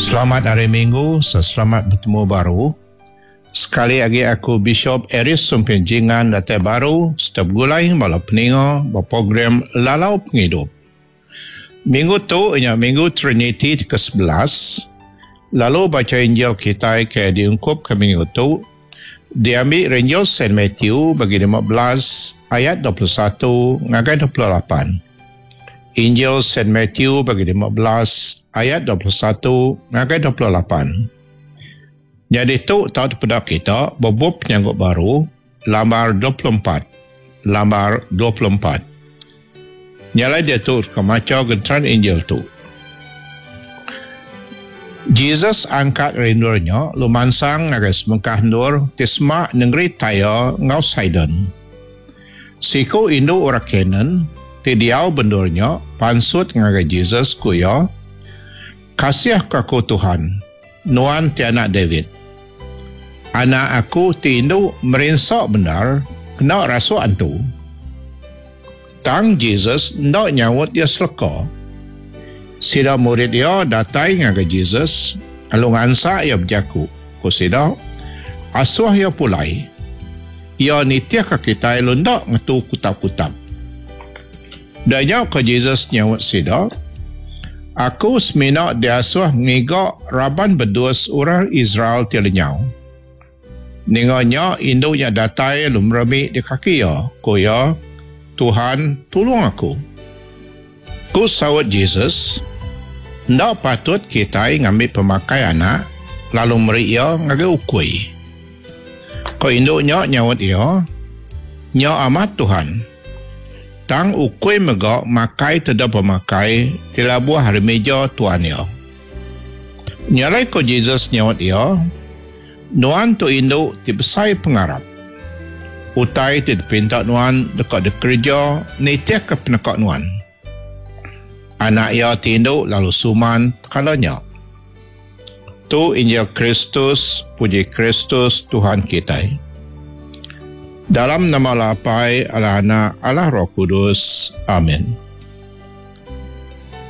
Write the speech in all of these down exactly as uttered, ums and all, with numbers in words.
Selamat Hari Minggu, selamat betemu baru. Sekali agi aku Bishop Aeries Sumping Jingan datai baru sereta begulai bala peninga ba program Lalau Pengidup. Minggu tu nya Minggu Trinity ti ke sebelas, lalu bacha Injil kitai ke diungkupka minggu tu diambi ari Injil Saint Matthew bagi lima belas ayat dua puluh satu ngagai dua puluh lapan. Injil Saint Matthew bagi lima belas ayat dua puluh satu ngagai dua puluh lapan. Nyadi tu tau dipeda kita ba bup Penyanggup Baru lambar dua puluh empat. Lambar dua puluh empat. Nyalai diatu deka macha genteran Injil tu. Jesus angkat ari endur nya lalu mansang ngagai sebengkah endur ti semak nengeri Tyre enggau Sidon. Siku indu orang Kanaan ti diau ba endur nya pansut ngagai Jesus, ku iya, Kasih ke aku Tuhan, nuan ti anak David. Anak aku ti indu merinsa bendar kena rasuk antu. Tang Jesus enda nyaut iya seleka. Sida murid iya datai ngagai Jesus lalu ngansak iya bejaku. Ku sida, Asuh iya pulai. Iya nitihka kitai lalu enda ngetu kutap-kutap. Dah nya ku Jesus nyaut sida, Aku semina diasuh ngiga raban bedus orang Israel ti lenyau. Ninga nya, indu nya datai lalu meremi di kaki iya. Ku iya, Tuhan, tulung aku. Ku saut Jesus, Enda patut kitai ngambi pemakai anak lalu meri iya ngagai ukui. Ku indu nya nyaut iya, Nya amat Tuhan. Tang ukui mega makai teda pemakai ti labuh ari meja tuan iya. Nya alai ku Jesus nyaut iya, Nuan tu indu ti besai pengarap. Utai ti dipinta nuan deka dikereja nitihka peneka nuan. Anak iya ti indu lalu suman tekala nya. Tu Injil Kristus, puji Kristus Tuhan kitai. Dalam nama Allah Apai, Allah Anak, Allah Roh Kudus. Amin.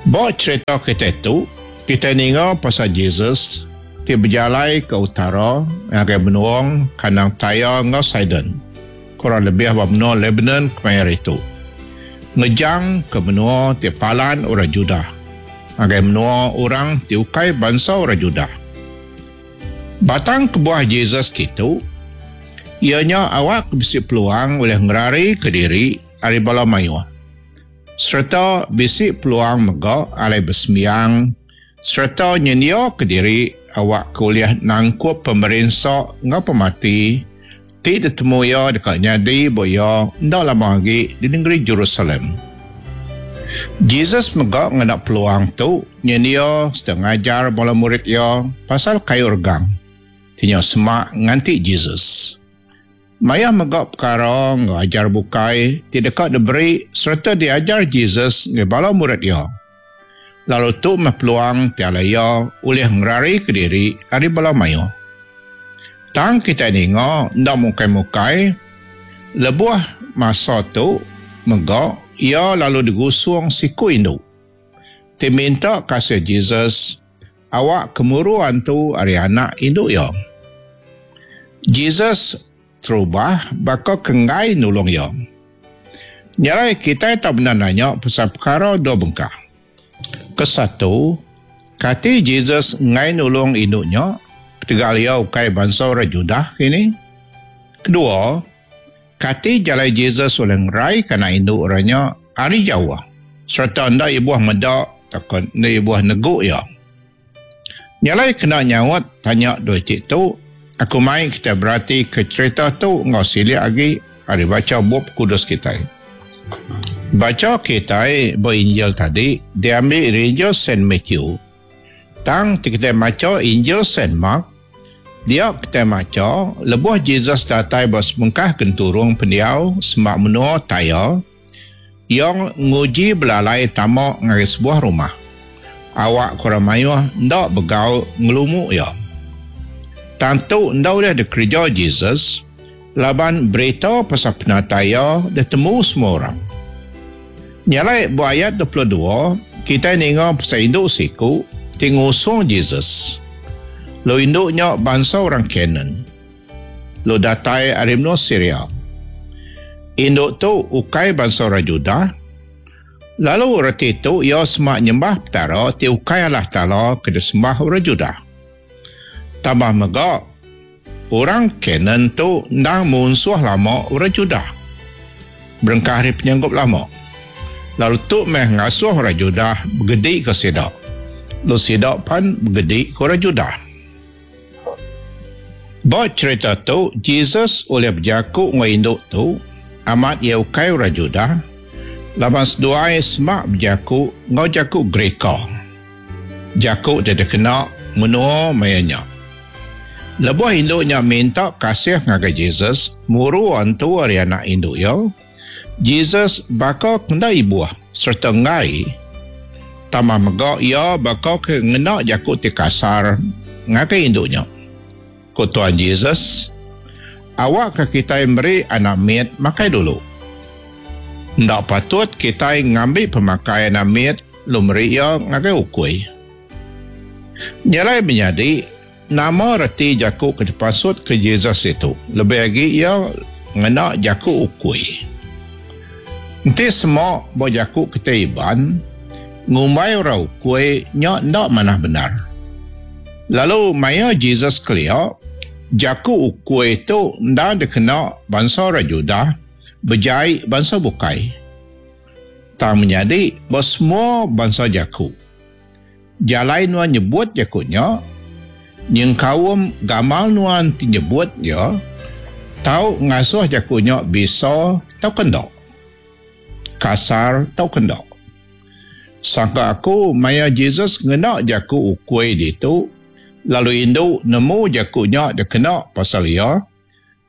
Ba cherita kitai tu, kitai ninga pasal Jesus ti bejalai ke utara ngagai menua kandang Tyre enggau Sidon, kurang lebih ba menua Lebanon kemaya hari tu. Ngejang ke menua ti palan orang Judah ngagai menua orang ti ukai bansa orang Judah. Batang kebuah Jesus kitu iya nya awak ke bisi peluang ulih ngerarika diri ari bala mayuh sereta bisi peluang mega alai besembiang sereta nyendiaka diri awak ke ulih nangkup pemerinsa enggau pemati ti ditemu iya deka nyadi ba iya enda lama agi di nengeri Jerusalem. Jesus mega ngena peluang tu nyendia sereta ngajar bala murid iya pasal kayu regang ti nya semak nganti Jesus. Mayuh mega pekara enggau ajar bukai ti deka diberi sereta diajar Jesus ngagai bala murid iya. Lalu tu meh peluang ti alai iya ulih ngerarika diri ari bala mayuh. Tang kitai ninga enda mukai-mukai, lebuh masa tu mega iya lalu digusung siku indu ti minta kasih Jesus awak ke muru antu ari anak indu iya. Jesus terubah baka ke enggai nulung iya. Nya alai kitai tau bendar nanya pasal pekara dua bengkah. Kesatu, kati Jesus enggai nulung indu nya ketegal iya ukai bansa orang Judah kini? Kedua, kati jalai Jesus ulih ngeraika anak indu orang nya ari jauh sereta enda ibuh meda tauka enda ibuh negu iya? Nya alai kena nyaut tanya dua iti tu, aku mai kitai beratika cherita tu enggau silik agi ari bacha Bup Kudus kitai. Bacha kitai ba Injil tadi diambi ari Injil Saint Matthew. Tang ti kitai macha Injil Saint Mark, dia kitai macha lebuh Jesus datai ba sebengkah genturung pendiau semak menua Tyre, iya nguji belalai tama ngagai sebuah rumah. Awak ke orang mayuh enda begau ngelumu iya. Tang tu enda ulih dikereja Jesus laban berita pasal penatai iya ditemu semua orang. Nya alai ba ayat dua puluh dua, kitai ninga pasal indu siku ti ngusung Jesus. Lalu indu nya bansa orang Kanaan, lalu datai ari menua Siria. Indu tu ukai bansa orang Judah, lalu reti tu iya semak nyembah Petara ti ukai Allah Taala ke disembah orang Judah. Tambah mega, orang Kanaan tu endang munsuh lama orang Judah, berengkah ari penyanggup lama. Lalu tu meh ngasuh orang Judah begedi ke sida. Lalu sida pan begedi ke orang Judah. Ba cerita tu, Jesus oleh bejaku enggau indu tu, amat ia ukai orang Judah, laban seduai semak bejaku enggau jaku Greka. Jaku ti dikena menua maya nya. Lebuh indu nya minta kasih ngagai Jesus, muru antu ari anak indu iya, Jesus baka kena ibuh serta enggai. Tambah mega iya baka ke ngena jaku ti kasar ngagai indu nya. Ku Tuhan Jesus, awak ke kitai meri anak mit makai dulu. Enda patut kitai ngambi pemakai anak mit lalu meri iya ngagai ukui. Nyelai menyadi, nama reti jaku ke dipasut ke Jesus itu? Lebih agi iya ngena jaku ukui. Enti semua ba jaku kitai Iban, ngumbai orang ukui nya enda manah benar. Lalu maya Jesus kelia, jaku ukui tu enda dikena bansa orang Judah bejai bansa bukai. Tang menyadi ba semua bansa jaku. Jalai nuan nyebut jaku nya, nyengkaum gamal nuan ti nyebut dia, tau ngasuh jaku nya bisa tau kenda. Kasar tau kenda. Sangka aku maya Jesus ngena jaku ukui ditu, lalu indu nemu jaku nya dikena pasal iya,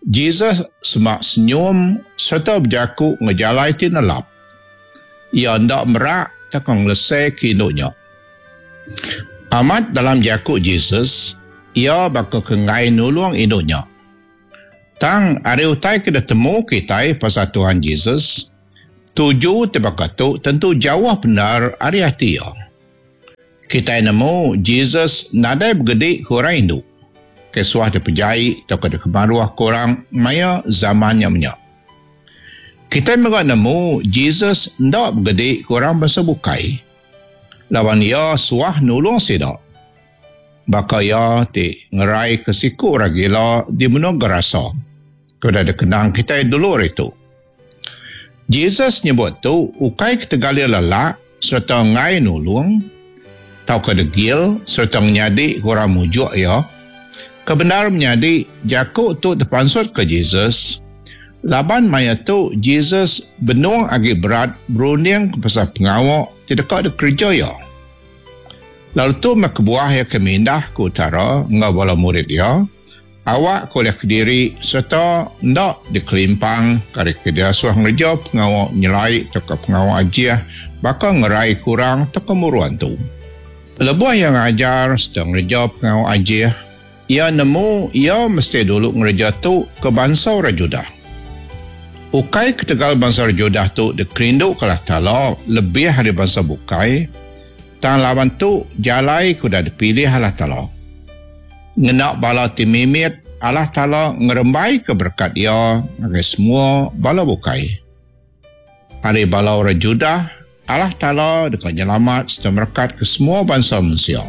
Jesus semak senyum serta berjaku ngejalai ti nelap. Ia ndak merak takang ngelesai ke indu nya. Amat dalam jaku Jesus, ia baka ke ngai nulung indu nya. Tang ari utai ke ditemu kitai pasal Tuhan Jesus, tuju ti baka tu tentu jauh benar ari ati iya. Kitai nemu Jesus nadai begedi ke orang indu, ke suah dipejai atau ke dikemaruh ke orang maya zaman nya menya. Kitai mega nemu Jesus ndak begedi ke orang bangsa bukai, lawan ia suah nulung sida. Baka ia ti ngerai ke siku orang gila di menua Gerasa, ke udah dikenang kitai dulu hari tu. Jesus nyebut tu ukai ketegal ia lelak serta ngai nulung, tauka degil serta menyadi ke orang mujuk ia. Kebenar menyadi jaku tu terpansut ke Jesus, laban maya tu Jesus benung agi berat berunding ke pasal pengawa ti deka dikerja ia. Lalu tu meh kebuah ia ke mindah ke utara enggau bala murid ia, awak ke oleh kediri serta enda dikelimpang kari ke diasuh ngereja pengawa nyelai tauka pengawa ajih baka ngerai kurang tauka muru antu. Lebuh ia ngajar serta ngereja pengawa ajih, ia nemu ia mesti dulu ngereja tu ke bansa orang Judah. Ukai ketegal bansa orang Judah tu dikerindu ke Allah Taala lebih ari bansa bukai, tang lawan tu jalai ke udah dipilih Allah Taala. Ngena bala ti mimit, Allah Taala ngerembai ke berkat ia ngagai semua bala bukai. Ari bala orang Judah, Allah Taala deka nyelamat serta merekat ke semua bansa manusia.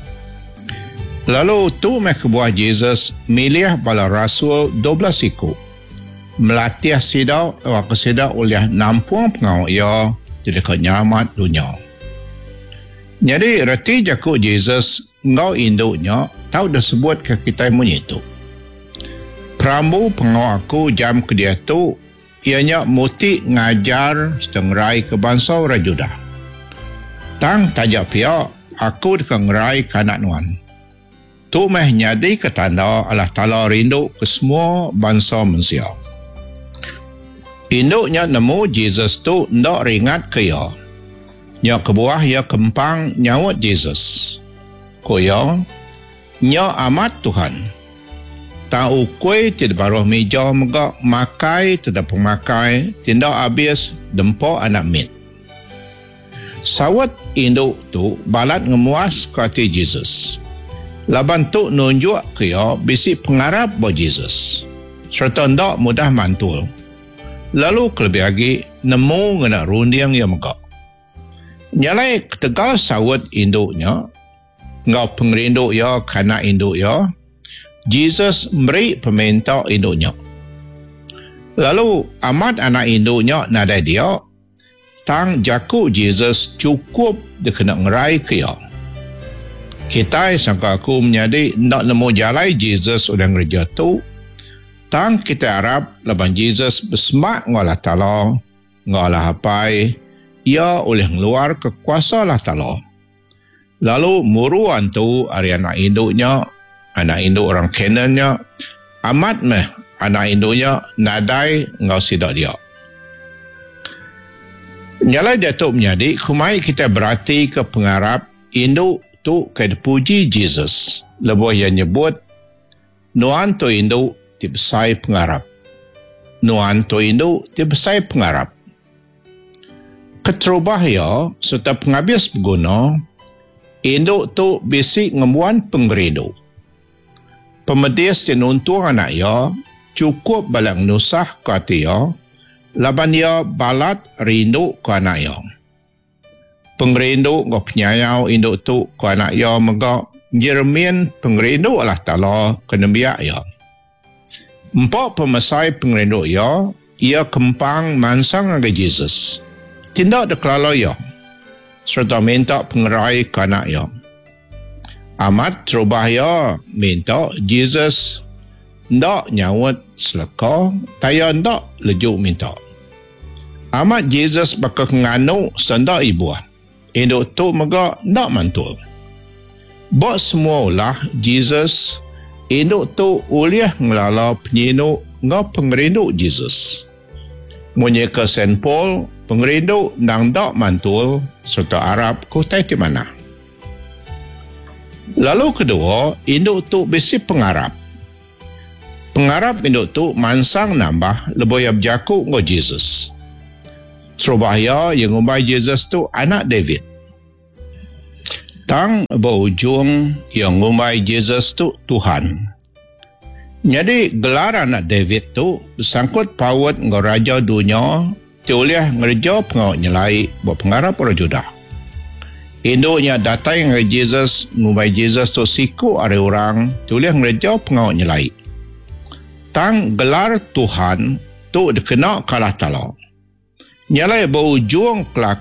Lalu tu meh kebuah Jesus milih bala rasul dua belas iku, melatih sida awak sida ulih nampung pengawa ia ti deka nyelamat dunya. Jadi reti jaku Jesus enggau indu nya tau disebut ke kitai munyi tu. Perambu pengawa aku jam ke diatu ia nya muti ngajar serta ngerai ke bansa orang Judah. Tang taja pia aku deka ngerai ke anak nuan. Tu meh nyadi ke tanda Allah Taala rindu ke semua bansa manusia. Indu nya nemu Jesus tu enda ringat ke ia. Nya kebuah ia kempang nyaut Jesus. Ku ia, nya amat Tuhan. Tang ukui ti di baruh meja mega makai teda pemakai ti enda habis dempa anak mit. Saut indu tu balat ngemuaska ati Jesus. Laban tu nunjukka iya bisi pengarap ba Jesus sereta enda mudah mantul. Lalu kelebih agi nemu ngena runding iya mega. Nya alai ketegal saut indu nya enggau pengerindu iya ke anak indu iya, Jesus meri peminta indu nya. Lalu amat anak indu nya nadai dia, tang jaku Jesus chukup dikena ngeraika iya. Kitai sangka aku menyadi enda nemu jalai Jesus udah ngereja tu, tang kitai arap laban Jesus besemak enggau Allah Taala enggau Allah Apai, iya ulih ngeluarka kuasa Allah Taala. Lalu muru antu ari anak indu nya, anak indu orang Kanaan nya, amat meh anak indu nya nadai enggau sida dia. Nya alai diatu menyadi kumai kitai beratika pengarap indu tu ke dipuji Jesus lebuh iya nyebut, Nuan tu indu ti besai pengarap. Nuan tu indu ti besai pengarap. Keterubah iya sereta pengabis beguna, indu tu bisi ngembuan pengerindu. Pemedis ti nuntung anak iya chukup balat ngenusahka ati iya laban iya balat rinduka anak iya. Pengerindu enggau penyayau indu tu ke anak iya mega nyeremin pengerindu Allah Taala ke nembiak iya. Empa pemesai pengerindu iya, iya kempang mansang ngagai Jesus, ti enda dikelala iya, sereta minta pengerai ke anak iya. Amat terubah iya minta, Jesus enda nyaut seleka, tang iya enda leju minta. Amat Jesus baka ke nganu sereta enda ibuh. Indu tu mega enda mantul. Ba semua ulah Jesus, indu tu ulih ngelala penyinu enggau pengerindu Jesus. Munyi ke Saint Paul, pengerindu endang enda mantul sereta arap ke utai ti manah. Lalu kedua, indu tu bisi pengarap. Pengarap indu tu mansang nambah lebuh iya bejaku enggau Jesus. Terubah iya, iya ngumbai Jesus tu Anak David. Tang ba ujung, iya ngumbai Jesus tu Tuhan. Nyadi, gelar Anak David tu besangkut paut enggau raja dunya ti ulih ngereja pengawa nyelai ba pengarap orang Judah. Indu nya datai ngagai Jesus ngumbai Jesus tu siku ari orang ti ulih ngereja pengawa nyelai. Tang gelar Tuhan tu dikena ke Allah Taala. Nya alai ba ujung kelakar